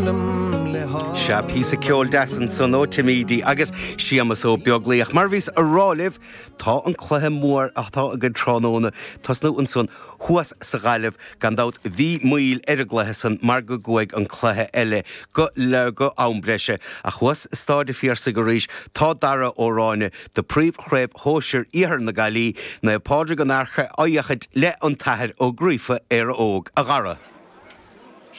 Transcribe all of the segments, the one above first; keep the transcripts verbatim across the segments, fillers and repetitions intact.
Sea píosa ceoil deas ansan ó Timídí agus Séamus Ó Beaglaoich mar bhíos a rá libh tá an cluiche mór atá againn tráthnóna tosnú ansan thuas sa Ghaillimh gan dabht bhí moill ar an gcluiche san mar go gcuaigh an cluiche eile go le go am breise ach thuas i Staid an Phiarsaigh arís tá Dara Ó Ráinne do príomhchraobh shóisir Iarthar na Gaillimhe Naomh Pádraig an Fhairche á fhéachaint le an tAthair Ó Gríofa Éire Óg a Dhara.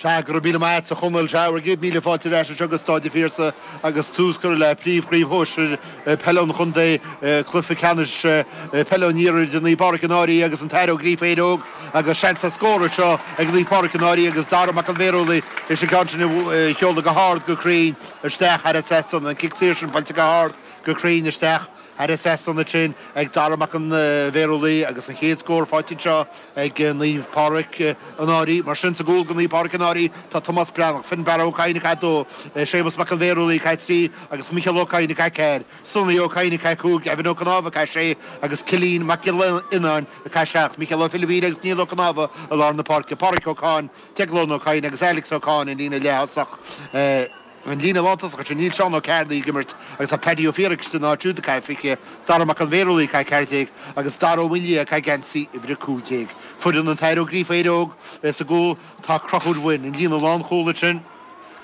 Sea go raibh míle maith agat a Chonaill sea bhur gcéad míle fáilte ar ais anseo go Staid an Phiarsaigh agus tús curtha le príomhchraobh shóisir peile an chontae cluiche ceannais peile an iarthair idir Naomh Pádraig an Fhairche agus an tAthair Ó Gríofa Éire Óg agus seans ar scór anseo ag Naomh Pádraig an Fhairche agus Dara Mac an Bhéarúlaigh leis an gceann sin a sheoladh go hard go cruinn isteach thar an trasnán an cic saor sin buailte go hard go cruinn isteach thar an trasnán ansin ag Dara Mac an Bhéarúlaigh agus an chéad scór faighte anseo ag Naomh Pádraig an Fhairche mar sin sa gcúl go Naomh Pádraig an Fhairche tá Tomás Breathnach Fionnbarra Ó Cadhain ag dó Séamus Mac an Bhéarúlaigh ag trí agus Micheál Ó Cadhain ag ceathair Sonny Ó Cadhain ag cúig Evan Ó Cnámha ag sé agus Cilín Mac Giolla ag seacht Micheál Ó Filibín agus Niall Ó Cnámha i lár na páirce Pádraig Ó Cáin Deaglán Ó Cadhain agus Alex Ó Cáin in líne leath-thosach An líne lántosach sin níl Seán Ó Cearnaigh ag imirt agus tá Paddy Ó Fiarach ina áit siúd ag fiche Dara Mac an Bhéarúlaigh ag ceathair déag agus Dara Ó Maoildhia ag geansaí uimhir a cúig déag. Foireann an tAthair Ó Gríofa Éire Óg sa gcúl tá Conchúr Wynne an líne lánchúl sin.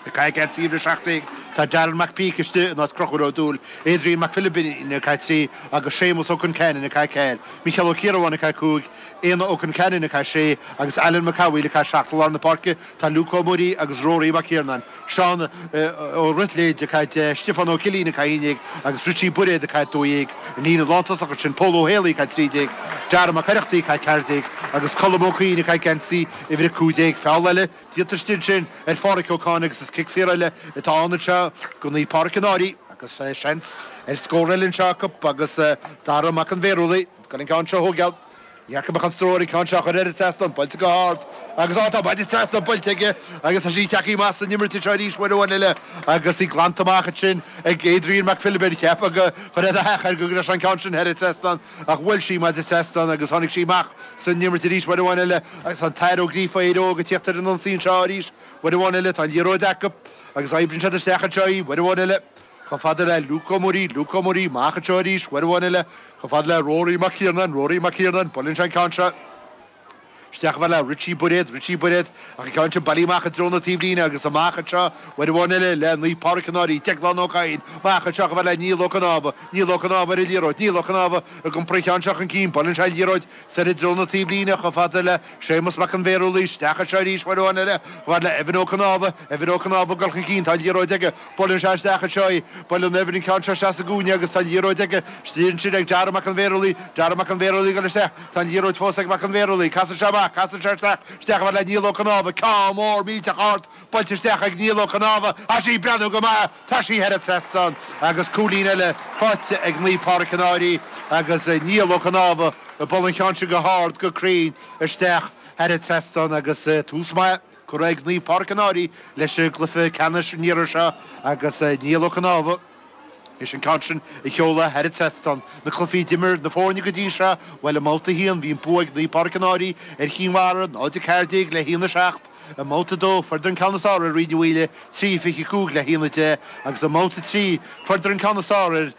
Ag geansaí uimhir a seacht déag tá Darren McPeak istigh in áit Conchúr Ó Dúill, Adrian McPhilipin ag trí agus Séamus Ó Conceannainn ag ceathair, Micheál Ó Ciarabháin ag cúig, Éanna Ó Conceannainn ag sé agus Alan McCawheel ag seacht lár na páirce tá Luke Ó Muirí agus Rory McKiernan. Seán ó Ritléid ag Stiofán Ó Cilín ag haon déag agus Richie Buiréad ag dó dhéag an líne lántosach sin Pól Ó Héalaí ag trí déag, Dara Mac Oireachtaí ag ceathair déag agus Colm Ó Cuinn ag geansaí uimhir a cúig déag feall eile déanta ansin ar Phádraig Ó Cáin agus is cic saor eile atá ann seo go Naomh Pádraig an Fhairche agus seans ar scór eile anseo acu agus Dara Mac an Bhéarúlaigh gan an ceann seo thógáil. Jacob an stró ceann seo chuir ar trasna buailte go hard agus á tá trasna buailte aige agus tá sí tagtha amach san imirt seo arís uair amháin eile agus í glanta amach sin ag Adrian McPhilipin cheap go chuir a go leis an ceann sin ar trasna ach bhuail sí maide trasna agus tháinig sí amach san imirt arís uair amháin eile agus an tAthair Ó Gríofa Éire Óg ag teacht ar an ionsaí seo arís uair amháin eile tá an liathróid acu agus oibríonn siad isteach anseo í uair amháin eile. Chomh fada le Luke Ó Muirí, Luke Ó Muirí, amach anseo arís, uair amháin eile, chomh fada le Rory McKiernan, Rory McKiernan, buaileann sé an ceann seo. Isteach le Richie Buiréad, Richie Buiréad ach an ceann sin bailithe amach i dtreo na taobhlíne agus amach anseo uair amháin eile le Naomh Pádraig an Fhairche, Deaglán Ó Cadhain, amach anseo chomh fada le Niall Ó Cnámha, Niall Ó Cnámha ar an liathróid, Niall Ó Cnámha ag iompar an ceann seo chun cinn, buaileann sé an liathróid soir i dtreo na taobhlíne chomh fada le Séamus Mac an Bhéarúlaigh, isteach anseo arís uair amháin eile chomh fada le Evan Ó Cnámha, Evan Ó Cnámha ag dul chun cinn, tá an liathróid aige, buaileann sé isteach anseo í, buaileann Evan an ceann seo isteach sa gcúinne agus tá an liathróid aige, istigh ansin ag Dara Mac an Bhéarúlaigh, Dara Mac an Bhéarúlaigh ag dul isteach, tá an liathróid fós ag Mac an Bhéarúlaigh, casann sé amach, casann sé isteach, isteach le Niall Ó Cnámha, ceann mór millteach ard, buailte isteach ag Niall Ó Cnámha, tá sí ag breathnú go maith, tá sí thar an trasnán agus cúilín eile faighte ag Naomh Pádraig an Fhairche agus Niall Ó Cnámha ag bualadh an cheann sin go hard go cruinn isteach thar an trasnán agus tús maith curtha ag Naomh Pádraig an Fhairche leis an gcluiche ceannais an iarthair seo agus Niall Ó Cnámha. Is an ceann sin a sheoladh thar an trasnán na cluichí a d'imir na foirne go dtí seo bhuel i mbabhta a haon bhí an bua ag Naomh Pádraig an Fhairche ar Chinn Mhara náid a ceathair déag le haon a seacht i mbabhta a dó fuaireadar an ceann is fearr ar Rí na Mhaoile trí fiche cúig le haon a deich agus i mbabhta a trí fuaireadar an ceann is fearr ar